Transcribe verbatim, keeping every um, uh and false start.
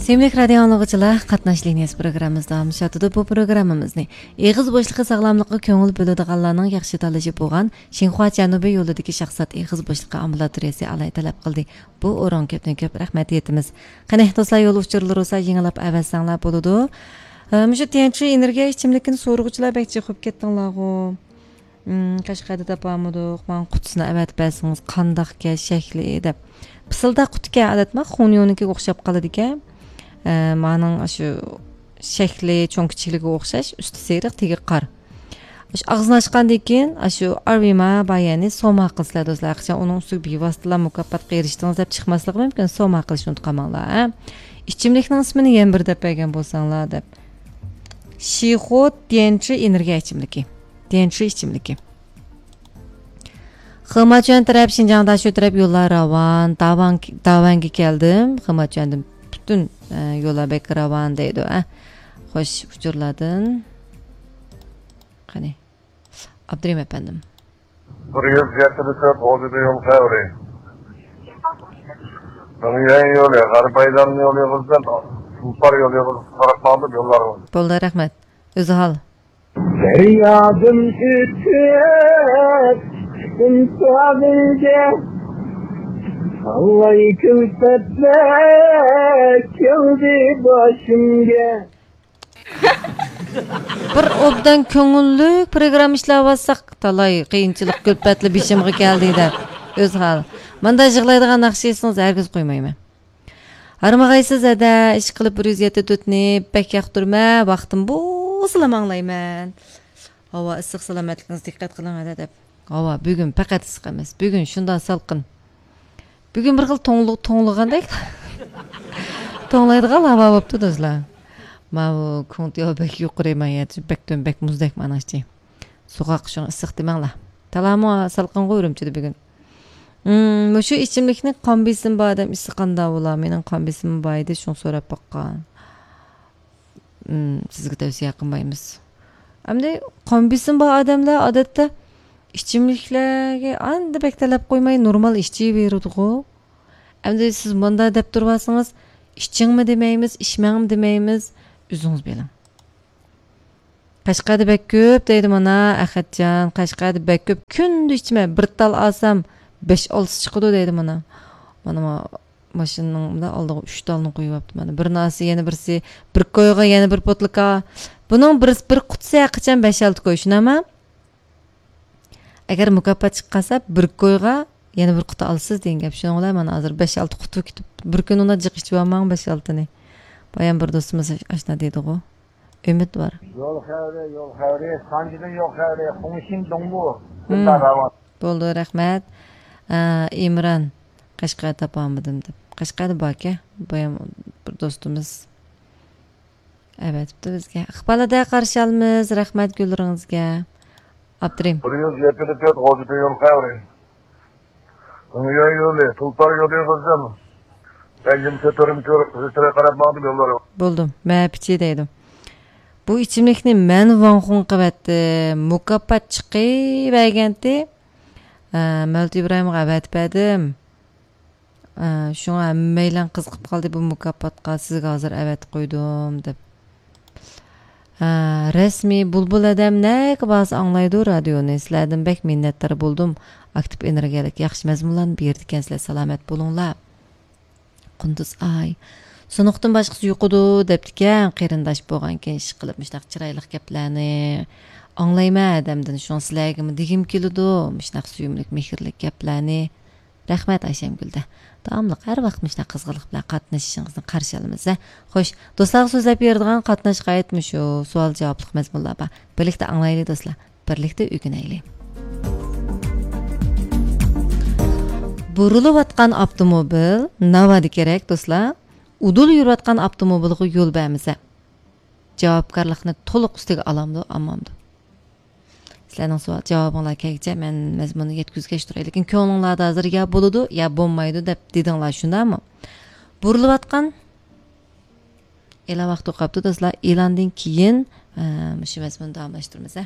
سۆيۈملۈك رادىيو ئاڭلىغۇچىلار، قاتناش لىنىيەسى پروگراممىمىز داۋاملىشىۋاتىدۇ. بۇ پروگراممىمىزنى ئېغىز بوشلۇقى ساغلاملىقىغا كۆڭۈل بۆلىدىغانلارنىڭ ياخشى تاللىشى بولغان شىنخۇا جەنۇبىي يولىدىكى شاخسات ئېغىز بوشلۇقى ئامبۇلاتورىيەسى ئالاھىدە تەلەپ قىلدى. بۇ ئورۇنغا كۆپتىن كۆپ رەھمەت ئېيتىمىز. قېنى، دوستلار، يول ئۇچۇرلىرى بولسا يېڭىلاپ ئەۋەتسەڭلار بولىدۇ. ئە، مۇشۇ تيەنشى ئېنېرگىيە ئىچىملىكىنى سورىغۇچىلار بەك جىق بولۇپ كەتتىڭلارغۇ. ئىم، قەشقەردە تاپالمىدۇق، ماڭا قۇتىسىنى ئەۋەتىپ بەرسىڭىز قانداقكەن شەكلى دەپ. پىسىلداق قۇتىكەن، ئادەتتە مانا خۇڭيونىڭكىگە ئوخشاپ قالىدىكەن. ئە، مانىڭ ئاشۇ شەكلى، چوڭ كىچىكلىكىگە ئوخشاش، ئۈستى سېرىق، تېگى قار. ئاشۇ ئاغزىنى ئاچقاندىن كېيىن، ئاشۇ ئارۋىما بايەنى سوما قىلسىلەر دوستلار. ئەخچان ئۇنىڭ ئۈستىگە بىۋاسىتىلا مۇكاپاتقا ئېرىشتىڭىز دەپ چىقماسلىقى مۇمكىن. سوما قىلىشنى ئۇنتۇپ قالماڭلار، ھە. ئىچىملىكنىڭ ئىسمىنى يەنە بىر دەپ بەرگەن بولساڭلار دەپ. شىخۇ تيەنشى ئېنېرگىيە ئىچىملىكى. تيەنشى ئىچىملىكى. خېماچۈەن تەرەپ، شىنجاڭ داشۆ تەرەپ يوللار راۋان. داۋان، داۋەنگە كەلدىم. خېماچۈەندىن پۈتۈن، ئە، يوللار بەك راۋان دەيدۇ، ئە. خوش، ئۇچۇرلاردىن. قېنى، ئابدۇرېھىم ئەپەندىم. بىر يۈز يەتتە تۆت غوجىدا يول خەۋىرى. مىڭيۈەن يولى، غەربىي ئايلان يولى يولىدىن، تۇلپار يولى يولىغا قاراپ ماڭدىم يوللارغا. بولدى، رەھمەت. ئۆزى ھال. دەريادىن ئۆتۈپ چىقتىم ساھىلگە، تالاي كۈلپەتلەر كەلدى باشىمغا. بىر ئوبدان كۆڭۈللۈك پروگرامما ئىشلەۋاتساق، تالاي قىيىنچىلىق كۈلپەتلەر بېشىمغا كەلدى دەپ. ئۆزى ھال. مانداق يىغلايدىغان ناخشا ئېيتسىڭىز ھەرگىز قويمايمەن. ھارمىغايسىز ھەدە، ئىشقىلىپ بىر يۈز يەتتە تۆتنى بەك ياقتۇرىمەن، ۋاقتىم بولسىلا ئاڭلايمەن. ھاۋا ئىسسىق، سالامەتلىكىڭىزگە دىققەت قىلىڭ ھەدە دەپ. ھاۋا بۈگۈن پەقەت ئىسسىق ئەمەس، بۈگۈن شۇنداق سالقىن. بۈگۈن بىر خىل توڭلۇ-، توڭلىغاندەك. توڭلايدىغان ھاۋا بوپتۇ دوستلار. ماۋۇ كۇڭتياۋ بەك يۇقىرى، مايەت بەك تۆم، بەك مۇزدەك مانا ئىچى. سوغۇق، شۇڭا ئىسسىق دېمەڭلار. تالامۇ سالقىنغۇ ئۈرۈمچىدە بۈگۈن. مم، مۇشۇ ئىچىملىكنى قان بېسىمى بار ئادەم ئىچسە قانداق بولا؟ مېنىڭ قان بېسىمىم بار ئىدى، شۇڭا سوراپ باققان. مم، سىزگە تەۋسىيە قىلمايمىز. ئەمدى قان بېسىمى بار ئادەملەر ئادەتتە ئىچىملىكلەرگە ئاندا بەك تەلەپ قويماي نورمال ئىچىۋېرىدىغۇ. ئەمدى سىز مۇنداق دەپ تۇرۇۋالسىڭىز، ئىچىڭمۇ دېمەيمىز، ئىچمەڭمۇ دېمەيمىز، ئۆزىڭىز بىلىڭ. قەشقەردە بەك كۆپ دەيدۇ مانا ئەخەتجان، قەشقەردە بەك كۆپ، كۈندە ئىچىمەن، بىر تال ئالسام بەش ئالتىسى چىقىدۇ دەيدۇ مانا. مانا ما-، ماشىنىنىڭ مۇنداق ئالدىغا ئۈچ تالنى قويۇۋاپتۇ مانا. بىرنى ئالسا يەنە بىرسى، بىر كويغا يەنە بىر پوتلىكا. بۇنىڭ بىر، بىر قۇتىسى ھەرقاچان بەش ئالتە كوي، شۇنداقمۇ؟ ئەگەر مۇكاپات چىقىپ قالسا، بىر كويغا يەنە بىر قۇتا ئالىسىز دېگەن گەپ. شۇنىڭ بىلەن مانا ھازىر بەش ئالتە قۇتا كېتىپ، بىر كۈنى ئۇنداق جىق ئىچىۋالماڭ بەش ئالتىنى. بايام بىر دوستىمىز ئاشۇنداق دېدىغۇ. ئۈمىد بار. يول خەۋىرى، يول خەۋىرى، سانجىدىن يول خەۋىرى، خۇڭشىن دۇڭبۇ. ھىم. بولدى، رەھمەت. ئە، ئىمران، قەشقەر تاپالمىدىم دەپ. قەشقەردە باركەن، بايام بىر دوستىمىز ئەۋەتىپتۇ بىزگە. ئىقبال ھەدە قارشى ئالىمىز، رەھمەت گۈللىرىڭىزگە. ئابدۇرېھىم. بىر يۈز يەتتە تۆت غوجىدا يول خەۋىرى. يول يولى، تۇلپار يولى قىزىم. بەنجىم كۆتۈرۈم كۆرۈپ، قىزىتىرى قاراپ ماڭدىم يوللارغا. بولدۇم، مەپىچى دەيدۇ. بۇ ئىچىملىكنى مەن ۋاڭخۇڭ قىلىۋەتتىم. مۇكاپات چىقىۋەرگەنتى. ئە، مەۋلۇت ئىبراھىمغا ئەۋەتىپ بەردىم. ئە، شۇڭا ھەممەيلەن قىزىقىپ قالدى بۇ مۇكاپاتقا، سىزگە ھازىر ئەۋەتىپ قويدۇم دەپ. ئە، رەسمىي بۇلبۇل ئادەم نەگە بارسا ئاڭلايدۇ رادىيونى. سىلەردىن بەك مىننەتدار بولدۇم. ئاكتىپ ئېنېرگىيەلىك ياخشى مەزمۇنلارنى بېرىدىكەنسىلەر، سالامەت بولۇڭلار. قۇندۇز ئاي. سۇنۇقتىن باشقىسى يوقىدۇ دەپتىكەن، قېرىنداش بولغانكەن ئىشقىلىپ مۇشۇنداق چىرايلىق گەپلەرنى ئاڭلايمەن ئادەمدىن، شۇڭا سىلەرگىمۇ دېگۈم كېلىدۇ مۇشۇنداق سۆيۈملۈك مېھىرلىك گەپلەرنى. رەھمەت ئايشەمگۈلدە. داۋاملىق ھەر ۋاقىت مۇشۇنداق قىزغىنلىق بىلەن قاتنىشىشىڭىزنى قارشى ئالىمىز ھە. خوش، دوستلارغا سۆزلەپ بېرىدىغان قاتناشقا ئائىت مۇشۇ سوئال جاۋابلىق مەزمۇنلار بار. بىرلىكتە ئاڭلايلى دوستلار، بىرلىكتە ئۆگىنەيلى. بۇرۇلۇۋاتقان ئاپتوموبىل ناۋادا كېرەك دوستلار؟ ئۇدۇل يۈرۈۋاتقان ئاپتوموبىلغا يول بەرمىسە، جاۋابكارلىقنى تولۇق ئۈستىگە ئالامدۇ، ئالمامدۇ؟ سىلەرنىڭ سوئال جاۋابىڭلار كەلگۈچە مەن مەزمۇننى يەتكۈزگەچ تۇراي. لېكىن كۆڭلۈڭلاردا ھازىر يا بولىدۇ، يا بولمايدۇ دەپ دېدىڭلار، شۇنداقمۇ؟ بۇرۇلۇۋاتقان ئېلان ۋاقتى قاپتۇ دوستلار. ئېلاندىن كېيىن، ئە، مۇشۇ مەزمۇننى داۋاملاشتۇرىمىز ھە.